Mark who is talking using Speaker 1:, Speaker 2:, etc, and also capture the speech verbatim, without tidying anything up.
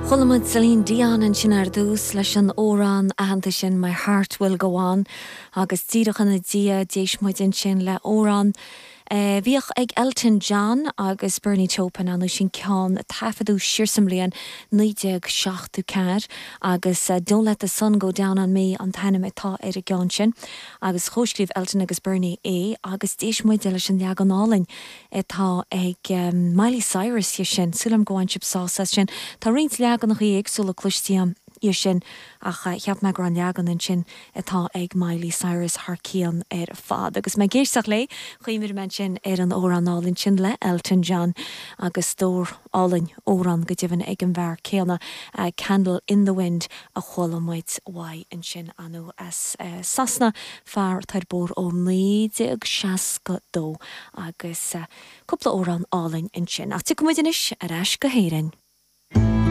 Speaker 1: Chuala muid Celine Dion ansin ar dtús leis an amhrán aitheanta sin My Heart Will Go On agus díreach ina dhiaidh d'éist muid ansin le amhrán Uh, bhíodh ag Elton John agus Bernie Taupin an sin ceann taifeadadh siar sa mbliain naoi déag seachtó ceathair agus uh, Don't Let the Sun Go Down on Me an t-ainm atá ar an gceann sin agus chomhscríobh Elton agus Bernie é agus d'éist muid leis an leagan álainn atá ag um, Miley Cyrus dhe sin súil agam go bhfuil sibh sásta sin Tá roinnt leaganacha éagsúla cloiste dhe sin ach cheap mé gur an leagan ansin atá ag Miley Cyrus thar cionn ar fad. agus mé ag éisteacht léi chuimhnigh mé sin ar an amhrán álainn sin le Elton John agus stór álainn amhrán go deimhin ag an bhfear céanna uh, Candle in the Wind a chuala muid uaidh ansin anu as uh, Sasana fear tar bór ó naoi déag seasca dó agus uh, cúpla amhrán álainn ansin. Ach tiocfaidh muid anois ar ais go hÉirinn.